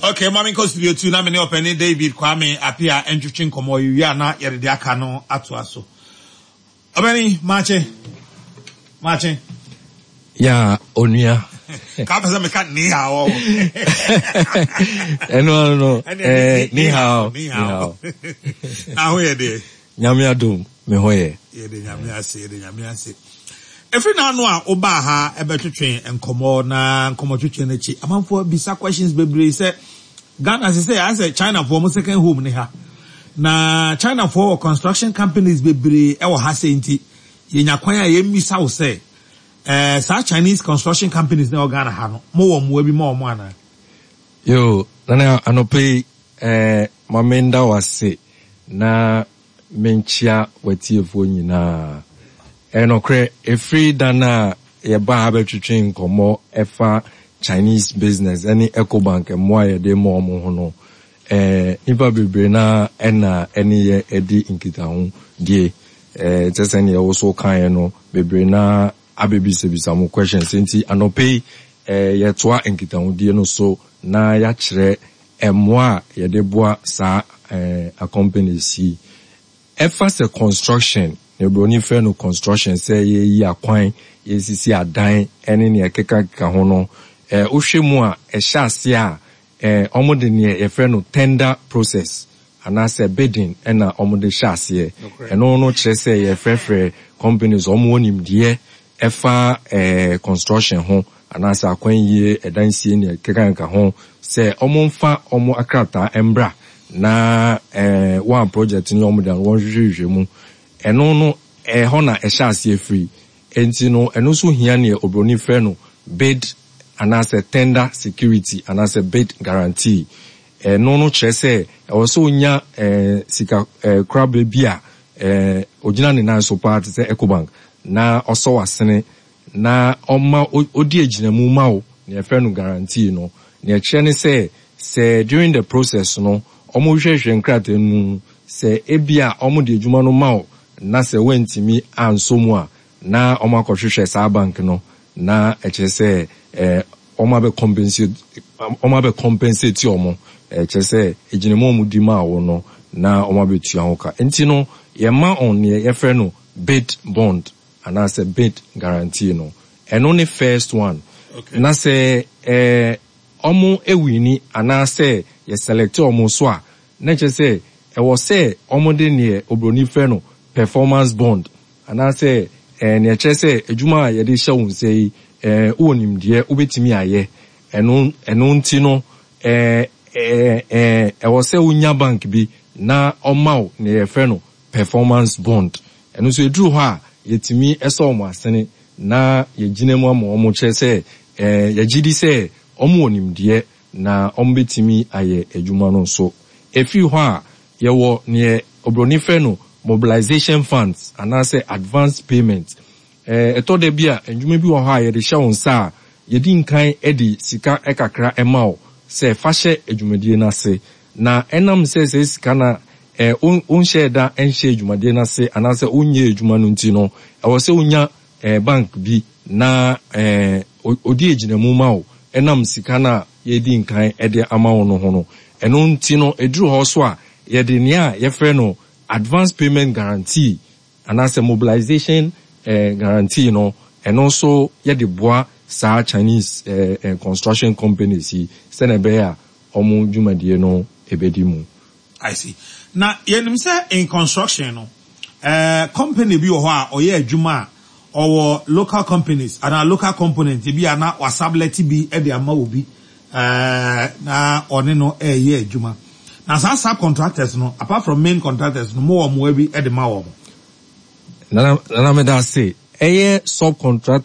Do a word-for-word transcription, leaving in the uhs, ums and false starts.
Okay, ma menkɔ studio two na me ne ɔpɛni David Kwame Apia ntwetwe nkɔmmɔ. Yɛwie a, na yɛde de aka no atoa so. Ɔbɛni, maakye, maakye. Ya, onua. Ka pɛ sɛ meka ni hao. Ɛno ano no, eh, ni hao. Ni hao. Na ho yɛ deɛ? Nyame adom, me ho yɛ. Yɛde Nyame ase, yɛde Nyame ase. Ɛfiri n'ano a wobaa ha ɛbɛtwetwe nkɔmmɔ, na nkɔmmɔtwetwe no akyi, amanfoɔ bisa questions bebree sɛ Ghana sɛ sɛ ayɛ sɛ Chinafoɔ mo second home ne ha, na Chinafoɔ wɔ construction companies bebree ɛwɔ ha sɛ, nti yɛnya kwan a yɛmmisa wo sɛ ɛɛ saa Chinese construction companies na ɛwɔ Ghana ha no, mowɔ mmoa bi ma wɔn anaa? Yo, Nana, anɔpɛ yi, eh, ma menda wo ase na menkyia w'atiefoɔ nyinaa. Ɛnokorɛ, ɛfiri da no a yɛba ha bɛtwetwe nkɔmmɔ ɛfa Chinese business ɛne Ecobank mmoa a yɛde ma ɔmo ho no, eh, nipa bebree na ɛna ɛne yɛ ɛdi nkitaho die. eh, kyɛ sɛ neɛ wo so kaeɛ no, bebree na abɛbisabisa mo questions, nti anɔpɛ yi, eh, yɛtoa nkitahodie no so na yɛakyerɛ mmoa a yɛde boa saa eh, a companies yi. Ɛfa sɛ construction na oburoni frɛ no construction, sɛ yɛyi akwan, yɛsisi adan ɛne nea ɛkekakeka ho no, eh, wohwɛ mu a, ɛhyɛ ase a, eh, ɔmo de neɛ yɛfrɛ no tender process anaasɛ bidding ɛna ɔmo de hyɛ aseɛ. Ɛno no kyerɛ sɛ yɛfrɛfrɛ companies ɔmo wɔ nimdeɛ ɛfa eh, construction ho anaasɛ akwan yie, ɛdan sie, nea ɛkekakeka ho, sɛ ɔmo mfa ɔmo akrataa mbra na eh, wɔn project ne ɔmo de ano wɔn hwehwɛhwehwɛ mu. Ɛno no, ɛhɔ na ɛhyɛ aseɛ firi. Nti no, ɛno nso hia neɛ oburoni frɛ no bid anaasɛ tender security anaasɛ bid guarantee. Ɛno no kyerɛ sɛ ɛwɔ sɛ onya ɛɛ sika ɛɛ korabea bi a ɛɛ ogyina ne nan so paa te sɛ Ecobank na ɔsɔ w'asene na ɔma odi agyinamu ma wo, nea yɛfrɛ no guarantee no. Nea ɛkyerɛ ne sɛ sɛ during the process no, ɔmo hwehwɛ nkrataa mu sɛ ebia ɔmo de adwuma no ma wo na sɛ wɔntumi ansɔ mu a, na ɔmo akɔhwehwɛ saa bank no na ɛkyerɛ sɛ ɛɛ ɔmo abɛ compensate ɔmo abɛ compensate ɔmo. Ɛkyerɛ sɛ egyinamu a ɔmo di maa wo no na ɔmo abɛtua ho ka. Nti no, yɛma ɔn nea yɛfrɛ no bid bond anaasɛ bid guarantee no. Ɛno ne first one. Okay. Na sɛ ɛɛ ɔmo ewin anaasɛ yɛ select ɔmo so a, na kyerɛ sɛ ɛwɔ sɛ ɔmo de neɛ obroni frɛ no performance bond anaasɛ ɛɛ nea kyerɛ sɛ adwuma a yɛde hyɛ wo nsa yi, ɛɛ wowɔ nimdeɛ, wobɛtumi ayɛ ɛno. Ɛno nti no, ɛɛ ɛɛ ɛɛ ɛwɔ sɛ wonya bank bi na ɔma wo nea yɛfrɛ no performance bond. Ɛno nso eduru hɔ a, yɛtumi ɛsɔ ɔmo asene na yɛgyina mu ama ɔmo, kyerɛ sɛ ɛɛ yɛgye di sɛ ɔmo wɔ nimdeɛ na ɔmo bɛtumi ayɛ adwuma no nso. Efiri hɔ a, yɛwɔ neɛ obroni frɛ no mobilization funds anaasɛ advance payment. ɛɛ ɛtɔ da bi a, ndwuma bi wɔ hɔ a yɛde hyɛ wɔn nsa a, yɛdi nkan de sika kakra ɛma wo sɛ fa hyɛ adwumadie no ase, na ɛnam sɛ sɛ sika na ɛɛ wonhyɛ da nhyɛ adwumadie no ase anaasɛ wonyɛ adwuma no nti no, ɛwɔ sɛ wonya ɛɛ bank bi na ɛɛ odi agyinamu ma wo, ɛnam sika no a yɛdi nkan de ama wo no ho no. Ɛno nti no, ɛduru hɔ so a, yɛde nea yɛfrɛ no advance payment guarantee anaasɛ mobilization eh, guarantee no, ɛno nso yɛde boa saa Chinese eh, eh, construction companies yi sɛnɛ ɛbɛyɛ a ɔmo dwumadie no ɛbɛdi mu. I see. Na yɛnim sɛ in construction no, uh, company bi wɔ hɔ a ɔyɛ adwuma a, ɔwɔ local companies anaa local component bi a na wasublet bi de ama obi uh, na ɔne no ɛreyɛ adwuma. Na saa subcontractors no, apart from main contractors no, mo wɔ mmoa bi de ma wɔn? Nana, Nana, meda ase. Ɛyɛ subcontractor